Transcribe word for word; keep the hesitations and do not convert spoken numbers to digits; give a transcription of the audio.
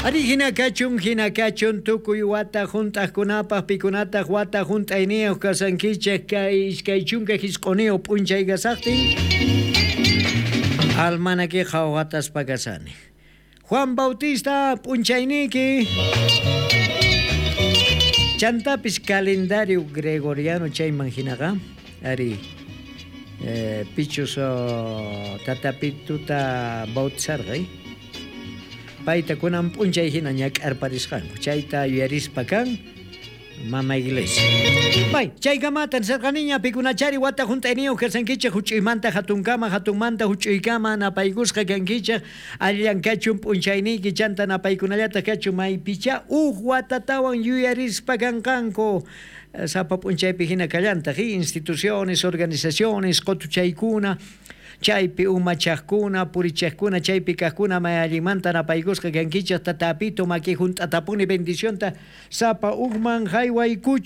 Ari hina kachun, hina kachun, tukuy wata junt'aqkunapaq, pikunataq wata junt'ayniyuq kasankichik kay iskay chunka jisq'uniyuq p'unchay kasaqtin. Almanaki qhawataspa kasani. Juan Bautista p'unchayniyki. Chantapis calendario gregoriano chayman hinaqa, ari eh, pichus oh, tatapituta bautizarqa, payta kunan p'unchay hina ñak'arparisqanku, chayta yuyarispa kan mama iglesia. Bay, chaykamata nisarqaniña pikunachari wata junt'ayniyuq kasankichik huch'uymanta hatunkama, hatunmanta huch'uykama napaykusqa kankichik, allan kachun p'unchayniyki chanta napaykunallataq kachun maypicha uj watatawan yuyarispa kanqanku. Sapa p'unchaypi hina kallantaq, instituciones, organizaciones, qutuchaykuna, chaypi umachaqkuna, purichaqkuna, chaypi kaqkuna may allinmanta napaykusqa kankichik tatapito maki junt'atapuni bendicionta sapa ujman haywaykuchu.